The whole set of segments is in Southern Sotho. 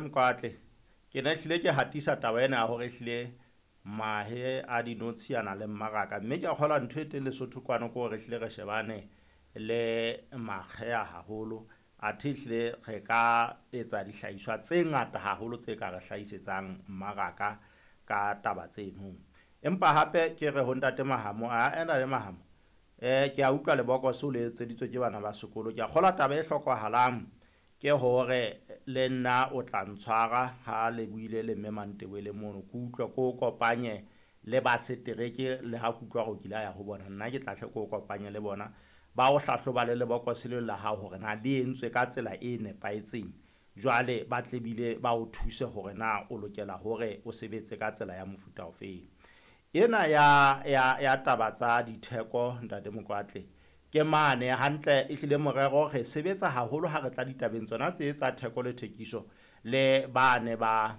Mokwatle, ke ne hlile ke hatisa taba ena ya hore ehlile mahe a dinotshi a na le mmaraka. Mme ke a kgolwa ntho e teng Lesotho kwano ke hore ehlile re shebane le makgeha haholo. Athe ehlile re ka etsa dihlahiswa tse ngata haholo tse ka re hlahisetsang mmaraka ka taba tseno. Empa hape ke re ho Ntate Mahamo, ae Ntate Mahamo, ke a utlwa lebokoso le etseditswe ke bana ba sekolo. Ke a kgolwa taba e hlokahalang ke hore le nna o tla ntshwara ha le buile le mme Mantebele mono. Ke utlwe ke o kopanye le ba setereke le ha ke utlwa hore o kile a ya ho bona. Nna ke tla hle ke o kopanye le bona. Ba o hlahloba le lebokose leo la hao hore na le entswe ka tsela e nepahetseng. Jwale ba tle bile ba o thuse hore na o lokela hore o sebetse ka tsela ya mofuta ofeng. Ena ya taba tsa ditheko Ntate Mokwatle, ke mane hantle ehlile morero re sebetsa haholo ha re tla ditabeng tsona tse tsa theko le thekiso le bane ba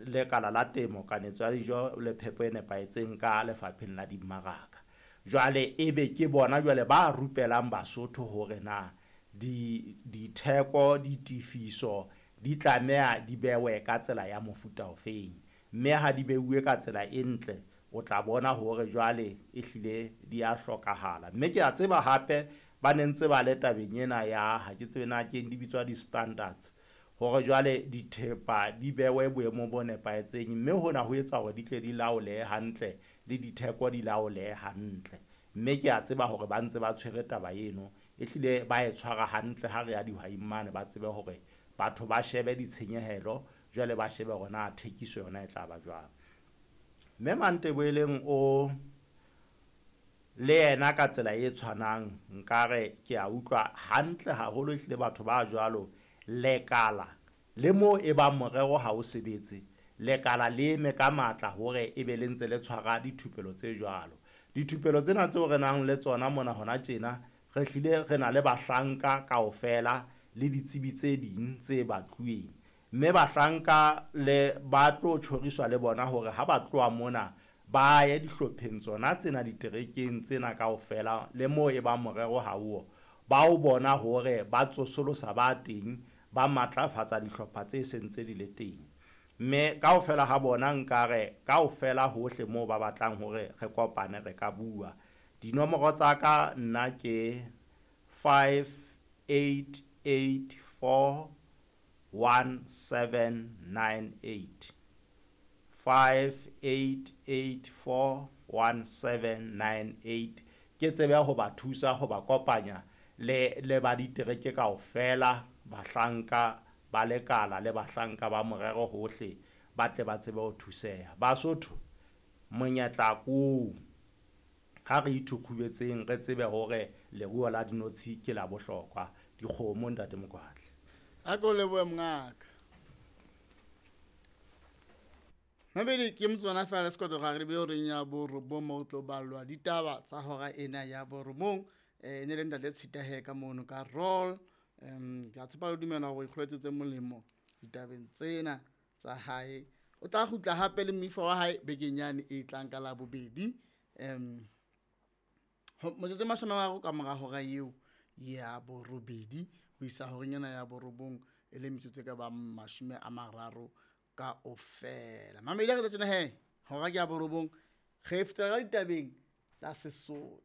lekala la temo, kanetso ya dijo le phepo e nepahetseng ka lefapheng la dimmaraka. Jwale ebe ke bona jwale ba rupelang Basotho hore na ditheko, ditefiso di tlameha di bewe ka tsela ya mofuta ofeng. Mme ha di beuwe ka tsela e ntle, o tla bona hore jwale ehlile di a hlokahala. Mme ke a tseba hape ba ne ntse ba le tabeng ena ya, ha ke tsebe na keng di bitswa di-standards, hore jwale dithepa di bewe boemong bo nepahetseng. Mme hona ho etsa hore di tle di laolehe hantle le ditheko di laolehe hantle. Mme ke a tseba hore ba ntse ba tshwere taba eno, ehlile ba e tshwara hantle ha re ya dihwaing mane, ba tsebe hore batho ba shebe ditshenyehelo, jwale ba shebe hore na thekiso yona e tla ba jwang. Mme Mantebeleng o le yena ka tsela e tshwanang, nkare ke a utlwa hantle haholo ehlile batho ba jwalo lekala le mo e bang morero ha o sebetse, lekala le eme ka matla hore e be le ntse le tshwara dithupelo tse jwalo. Dithupelo tsena tseo re nang le tsona mona hona tjena, re hlile re na le bahlanka kaofela le ditsebi tse ding tse batluweng. Mme bahlanka le ba tlo tjhoriswa le bona hore ha ba tloha mona ba ye dihlopheng tsona tsena diterekeng tsena kaofela le moo e bang morero ha o, ba o bona hore ba tsosolosa ba teng, ba matlafatsa dihlopha tse seng tse di le teng. Mme kaofela ha bona nkare kaofela hohle moo ba batlang hore re kopane re ka bua. Dinomoro tsa ka nna ke 5884 1798. 5884 1798. Ke tsebe ho ba thusa ho ba kopanya le ba ditereke kaofela, bahlanka ba lekala le bahlanka ba morero hohle, ba tle ba tsebe ho thuseha. Basotho, monyetla ko ha re ithukhubetseng re tsebe hore leruo la dinotshi ke la bohlokwa. Dikgomo Ntate Mokwatle. A ko lebohe mongaka. Mabedi ke motswana fela sekoto ga re be o reng ya borobong mo tlo ballwa ditaba tsa hora ena ya borobong. Ne le ntate Tshitahe ka mono ka roll. Ke a tshepa le dumela hore o ikgoletse tse molemo ditabeng tsena tsa hae. O tla kgutla hape le moifo wa hae bekeng yane e tlang ka Labobedi. Motsotso e 30 ka mora hora eo ya borobedi ho isa horeng ena ya borobong e le metsotso e ka bang 30 kaofela. Mamedi a re tjena he, hora ke ya borobong, re fetela ka ditabeng tsa Sesotho.